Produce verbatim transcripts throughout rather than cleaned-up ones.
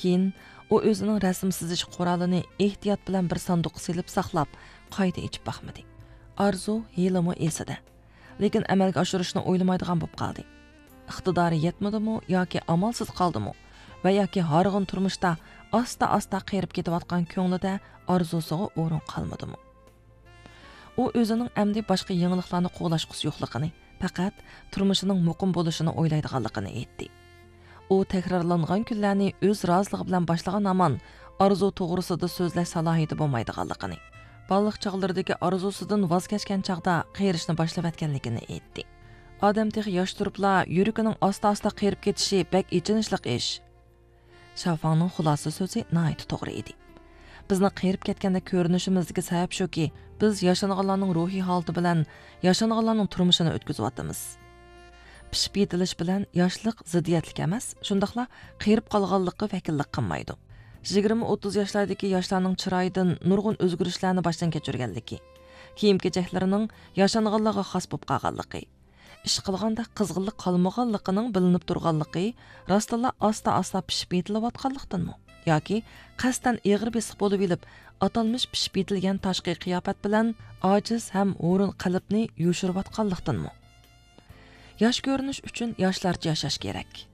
كېيىن ئۇ ئۆزىنىڭ رەسىم سىزىش قورالىنى ئېھتىيات بىلەن بىر ساندۇققا سېلىپ ساقلاپ، قايتا ئېچىپ باقمىدى. ئارزۇ ھېلىمۇ ئېسىدە. لېكىن ئەمەلگە ئاشۇرۇشنى ئويلىمايدىغان بولۇپ قالدى. ئىقتىدارى يەتمىدىمۇ ياكى ئامالسىز قالدىمۇ ۋە ياكى ھارغىن تۇرمۇشتا ئاستا-ئاستا قېرىپ كېتىۋاتقان كۆڭلىدە ئارزۇسىغا ئورۇن قالمىدىمۇ؟ ئۇ ئۆزىنىڭ ئەمدى باشقا يېڭىلىقلارنى قوغلاشقۇسى يوقلۇقىنى، پەقەت تۇرمۇشىنىڭ مۇقىم بولۇشىنى ئويلايدىغانلىقىنى ئېيتتى. ئۇ تەكرارلانغان كۈنلەرنى ئۆز رازىلىقى بىلەن باشلىغان ھامان ئارزۇ توغرىسىدا سۆزلەش سالاھىيىتى بولمايدىغانلىقىنى، بالىلىق چاغلىرىدىكى ئارزۇسىدىن ۋاز كەچكەن چاغدا قېرىشنى باشلىۋەتكەنلىكىنى ئېيتتى. ئادەم تېخى ياش تۇرۇپلا يۈرىكىنىڭ ئاستا-ئاستا قېرىپ كېتىشى بەك ئېچىنىشلىق ئىش. شاۋفاڭنىڭ خۇلاسە سۆزى ناھايىتى توغرا ئىدى. بىزنىڭ قېرىپ كەتكەندەك كۆرۈنۈشىمىزدىكى سەۋەب شۇكى، بىز ياشانغانلارنىڭ روھىي ھالىتى بىلەن ياشانغانلارنىڭ تۇرمۇشىنى ئۆتكۈزۈۋاتىمىز. پىشىپ يېتىلىش بىلەن ياشلىق زىددىيەتلىك ئەمەس، شۇنداقلا قېرىپ قالغانلىققا ۋەكىللىك قىلمايدۇ. يىگىرمە ئوتتۇز ياشلاردىكى ياشلارنىڭ چىرايىدىن نۇرغۇن ئۆزگىرىشلەرنى باشتىن كەچۈرگەنلىكى، كىيىم-كېچەكلىرىنىڭ ياشانغانلارغا خاس بولۇپ قالغانلىقى، ئىش قىلغاندا قىزغىنلىق قالمىغانلىقىنىڭ بىلىنىپ تۇرغانلىقى راستتىنلا ئاستا-ئاستا پىشىپ يېتىلىۋاتقانلىقتىنمۇ؟ ياكى قەستەن ئېغىر بېسىق بولۇۋېلىپ، ئاتالمىش پىشىپ يېتىلگەن تاشقى قىياپەت بىلەن ئاجىز ھەم ھۇرۇن قەلبنى يوشۇرۇۋاتقانلىقتىنمۇ؟ ياش كۆرۈنۈش ئۈچۈن ياشلارچە ياشاش كېرەك.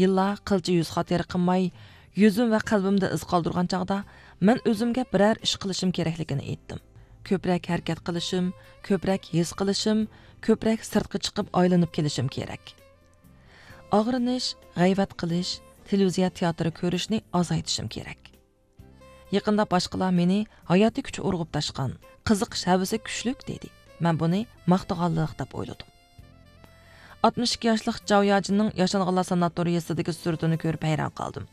يىللار قىلچە يۈز خاتىرە قىلماي، يۈزۈم ۋە قەلبىمدە ئىز قالدۇرغان چاغدا، مەن ئۆزۈمگە بىرەر ئىش قىلىشىم كېرەكلىكىنى ئېيتتىم. كۆپرەك ھەرىكەت قىلىشىم، كۆپرەك ھېس قىلىشىم، كۆپرەك سىرتقا چىقىپ ئايلىنىپ كېلىشىم كېرەك. ئاغرىنىش، غەيۋەت قىلىش، تېلېۋىزىيە تىياتىرى كۆرۈشنى ئازايتىشىم كېرەك. يېقىندا باشقىلار مېنى ھاياتىي كۈچ ئۇرغۇپ تاشقان، قىزىقىش ھەۋىسى كۈچلۈك دېدى. مەن بۇنى ماختىغانلىق دەپ ئويلىدىم. ئاتمىش ئىككى ياشلىق جاۋ ياجىننىڭ ياشانغانلار ساناتورىيىسىدىكى سۈرىتىنى كۆرۈپ ھەيران قالدىم.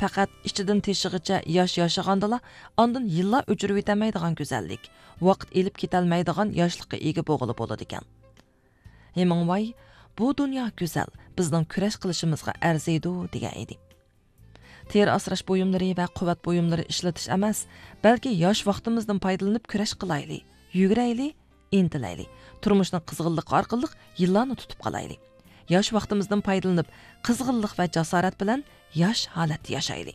پەقەت ئىچىدىن تېشىغىچە ياش ياشىغاندىلا، ئاندىن يىللار ئۆچۈرۈۋېتەلمەيدىغان گۈزەللىك، ۋاقىت ئېلىپ كېتەلمەيدىغان ياشلىققا ئىگە بولغىلى بولىدىكەن. ھېمىڭۋاي، «بۇ دۇنيا گۈزەل، بىزنىڭ كۈرەش قىلىشىمىزغا ئەرزىيدۇ» دېگەن ئىدى. تېرە ئاسراش بۇيۇملىرى ۋە قۇۋۋەت بۇيۇملىرى ئىشلىتىش ئەمەس، بەلكى ياش ۋاقتىمىزدىن پايدىلىنىپ كۈرەش قىلايلى، يۈگۈرەيلى، ئىنتىلەيلى. تۇرمۇشنىڭ قىزغىنلىقى ئارقىلىق يىللارنى تۇتۇپ قالايلى. ياش ۋاقتىمىزدىن پايدىلىنىپ، قىزغىنلىق ۋە جاسارەت بىلەن ياش ھالەتتە ياشايلى.